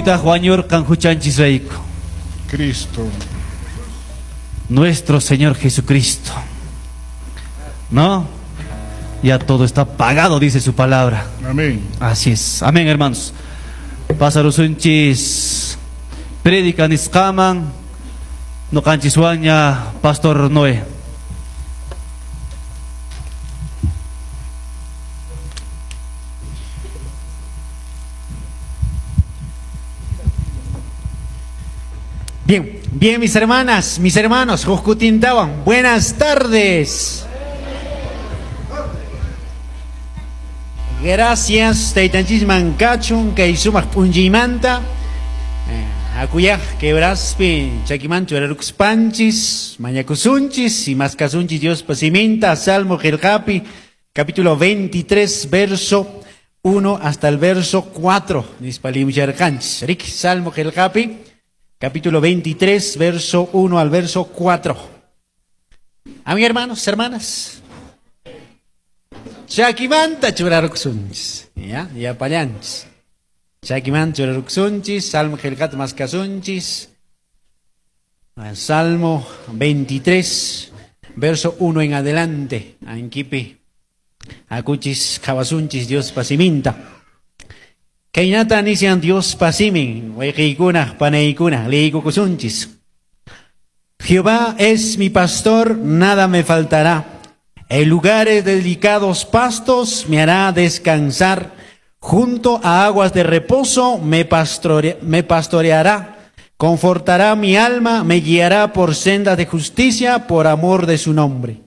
Pitaq wañurqan huchanchisrayku? Cristo. Nuestro Señor Jesucristo. ¿No? Ya todo está pagado, dice su palabra. Amén. Así es. Amén, hermanos. Pasarusunchis prédica nisqaman ñuqanchiswanña Pastor Noé. Bien, bien mis hermanas, mis hermanos, Jujkutintawan, buenas tardes. Gracias, taytanchisman kachun, kay sumaq p'unchaymanta. Akuyaq quebraspi chakimanchu churarukuspanchis, mañakusunchis y maskasunchis Diospa siminta, Salmo qillqapi, capítulo 23, verso 1 hasta el verso 4. Nispa limcharqanchis. Rik, Salmo qillqapi, capítulo 23, verso 1 al verso 4. A mis hermanos, hermanas. Chakimanta churarukusunchis. Ya, ya pallanchis. Chakimanta churarukusunchis, Salmo qillqata maskasunchis. Salmo 23, verso 1 en adelante. Ankipi, akuchis, qhawasunchis, Diospa siminta. Kaynata nishan Diospa simin, wayqiykuna, panaykuna, liykukusunchis. Jehová es mi pastor, nada me faltará. En lugares de delicados pastos me hará descansar. Junto a aguas de reposo me pastoreará. Confortará mi alma, me guiará por sendas de justicia por amor de su nombre.